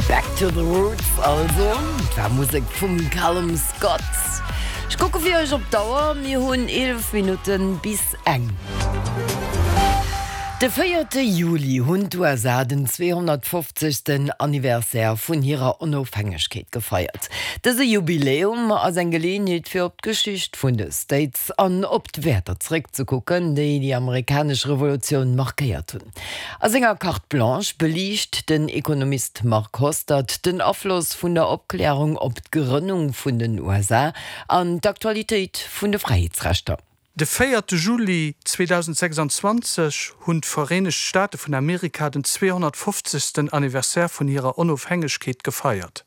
Back to the roots also, et war Musek vum Callum Scott. Ech kucke fir iech op d'Auer, mir hunn 11 Minutten bis eng. De véierte Juli hunn d'USA den 250. Anniversaire vun hirer Onofhängegkeet gefeiert. Dëse Jubiläum ass eng Geleeënheet fir op d'Geschicht vun de States an op d'Wäerter zeréckzekucken, déi déi amerikanesch Revolutioun markéiert hunn. A senger Carte Blanche beliicht den Ekonomist Marc Hostert den Afloss vun der Opklärung op d'Grënnung vun den USA an d'Aktualitéit vun de Fräiheetsrechter. De véierte Juli 2026 hunn d'Vereenegt Staate vun Amerika den 250. Anniversaire vun hirer Onofhängegkeet gefeiert.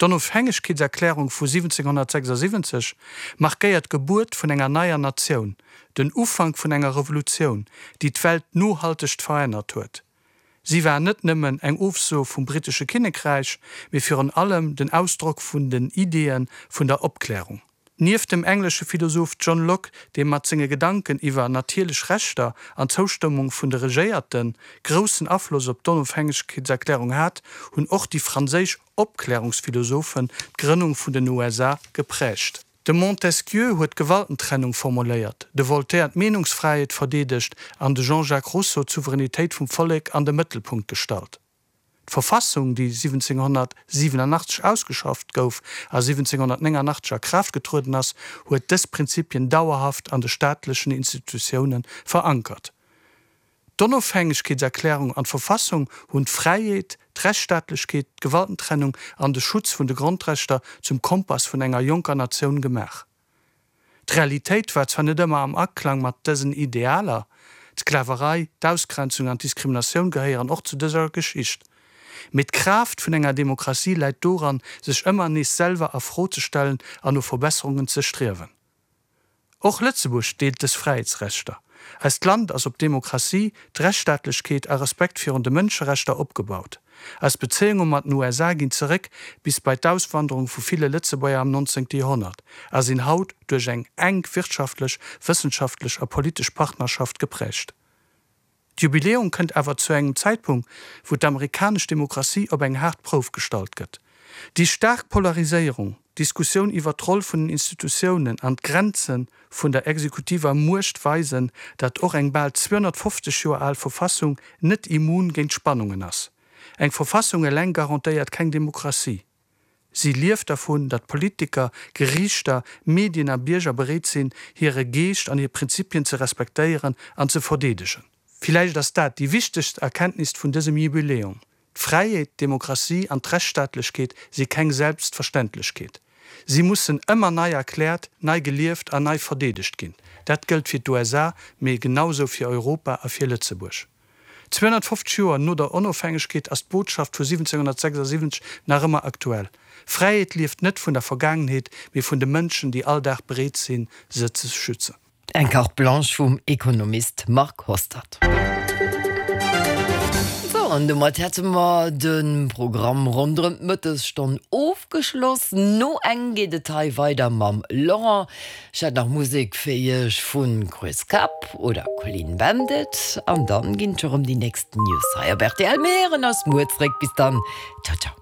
D'Onofhängegkeetserklärung vu 1776 markéiert d'Gebuert vun enger neier Natioun, den Ufank vun enger Revolutioun, déi d'Welt nohaltegt verännert huet. Si war net nëmmen eng Ofso vum brittesche Kinnekräich, mee virun allem den Ausdrock vun den Ideeë vun der Opklärung. Nieft dem englesche Philosoph John Locke, dee mat senge Gedanken iwwer natierlech Rechter an d'Zoustëmmung vun de Regéierte groussen Afloss op d'Onofhängegkeetserklärung hat, hunn och déi franséisch Opklärungsphilosophen d'Grënnung vun den USA geprägt. De Montesquieu huet d'Gewaltentrennung formuléiert, de Voltaire d'Meenungsfräiheet verdeedegt an de Jean-Jacques Rousseau d'Souveränitéit vum Vollek an de Mëttelpunkt gestallt. D'Verfassung, déi 1787 ausgeschafft gouf a 1789 a Kraaft getrueden ass, huet dës Prinzipien dauerhaft an de staatlechen Institutioune verankert. D'Onofhängegkeetserklärung an d'Verfassung hunn d'Fräiheet, d'Rechtsstaatlechkeet, d'Gewaltentrennung an de Schutz vun de Grondrechter zum Kompass vun enger jonker Natioun gemaach. D'Realitéit war zwar net ëmmer am Aklang mat dësen Idealer, d'Sklaverei, d'Ausgrenzung an d'Diskriminatioun gehéieren och zu dëser Geschicht, mee d'Kraaft vun enger Demokratie läit doran, sech ëmmer nees selwer a Fro ze stellen an no Verbesserungen ze striewen. Och Lëtzebuerg deelt dës Fräiheetsrechter. Eist Land ass op Demokratie, d'Rechtsstaatlechkeet a Respekt virun de Mënscherechter opgebaut. Eis Bezéiunge mat den USA ginn zeréck bis bei d'Auswanderung vu ville Lëtzebuerger am 19. Joerhonnert a sinn haut duerch eng enk wirtschaftlech, wëssenschaftlech a politesch Partnerschaft geprägt. D'Jubiläum kënnt awer zu engem Zäitpunkt, wou d'amerikanesch Demokratie op eng haart Prouf gestallt gëtt. Déi staark Polariséierung, d'Diskussioun iwwer d'Roll vun den Institutiounen an d'Grenze vun der exekutiver Muecht weisen, datt och eng bal 250 Joer al Verfassung net immun géint Spannungen ass. Eng Verfassung eleng garantéiert keng Demokratie. Si lieft dervun, datt Politiker, Geriichter, Medien a Bierger bereet sinn, hire Geescht an hir Prinzipien ze respektéieren an ze verdeedegen. Villäicht ass dat déi wichtegst Erkenntnis vun dësem Jubiläum, D'Fräiheet, d'Demokratie an d'Rechtsstaatlechkeet si keng Selbstverständlechkeet. Si mussen ëmmer nei erkläert, nei gelieft an nei verdeedegt ginn. Dat gëllt fir d'USA, mee genausou fir Europa a fir Lëtzebuerg. 250 Joer no der Onofhängegkeet ass d'Botschaft vu 1776 nach ëmmer aktuell, Fräiheet lieft net vun der Vergaangenheet, mee vun de Mënschen, déi all Dag bereet sinn, se ze schützen. Eng Carte Blanche vum Ekonomist Marc Hostert. Sou, an domat hätte mer de Programm ronderëm d'Mëttesstonn ofgeschloss. No eng geet et hei weider mam Laurent. Ech hätt nach Musek fir iech vu Chris Kapp oder Clean Bandit. An dann ginn et scho rëm déi nächst News hei op rtl. Mir héieren eis muer zréck. Bis dann, ciao ciao.